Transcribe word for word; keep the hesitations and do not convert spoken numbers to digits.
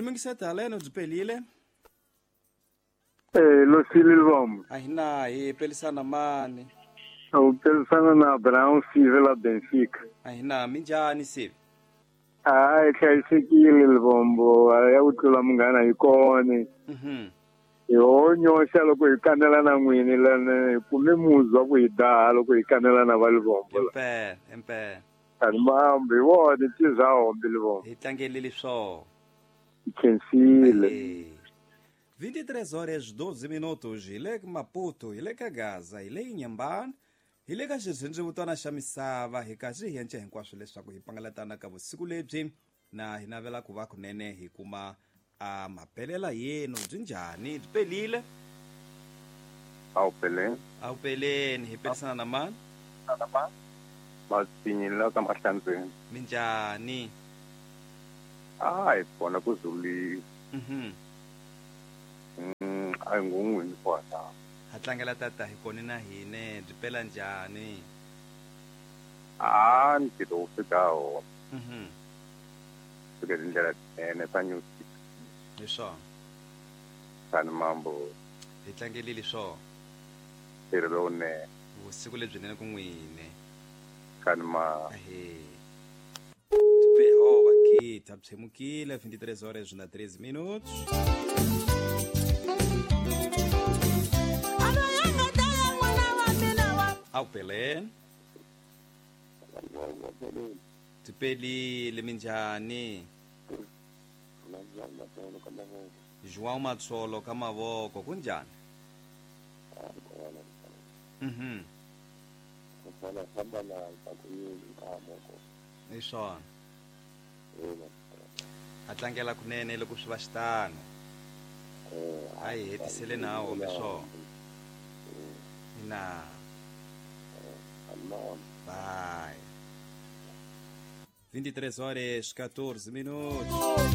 Hi lumingise haleno byi pelile. Eh, Losile Lubombo. A hi na hi pelisana mani? U pelisana na Abraão Sive la Benfica. A hi na minjhani Sive? Hayi, hlayisekile Lubombo, ya ku tlula munghana hi kone. Mhm. Hi ho nyoxa loko hi kanela na n'wini lana hi kume muzi wa ku hi daha loko hi kanela na va Lubombo. Impela, impela. Ani mambo hi vona tiza hombi Lubombo. Hi tlangelile swona. Hi khensile. Ahee. vinte e três horas doze minutos, hi le ka Maputo, hi le ka Gaza, hi le Inhambane, hi le ka xirhendzevutana xa misava, hi kasi hi yence hinkwaswo leswaku hi pangalatana ka vusiku lebyi na hi navela ku va kunene hi kuma a mapelela yenu byi njhani, byi pelile? A wu peleni. A wu peleni, hi pelisana na mani? Matinyi la ka Mahlandzeni. Minjhani? A hi kona ku zulile. Mhm. Mm, a hi ngun'wini kwala. Ha tlangela tata hi kone na hine, byi pela njhani? A ntirho wu fika wona. Mhm. Fike tindlela tinene ta New City. Hi swona. Tani mambo. Hi tlangelile swona. Ntirho lowunene. Vusiku lebyinene ku n'wine. Kani ma. Ahee. Ho vakita byi vinte e três horas na treze minutos. A wu peleni? Byi pelile, minjhani? João Matsolo ka mavoko, kunjhani? Mhm. Hi swona. Ha tlangela kunene loko swi va xitano. A hi hetisele na hombe swona. Ina. Bye. vinte e três horas catorze minutos.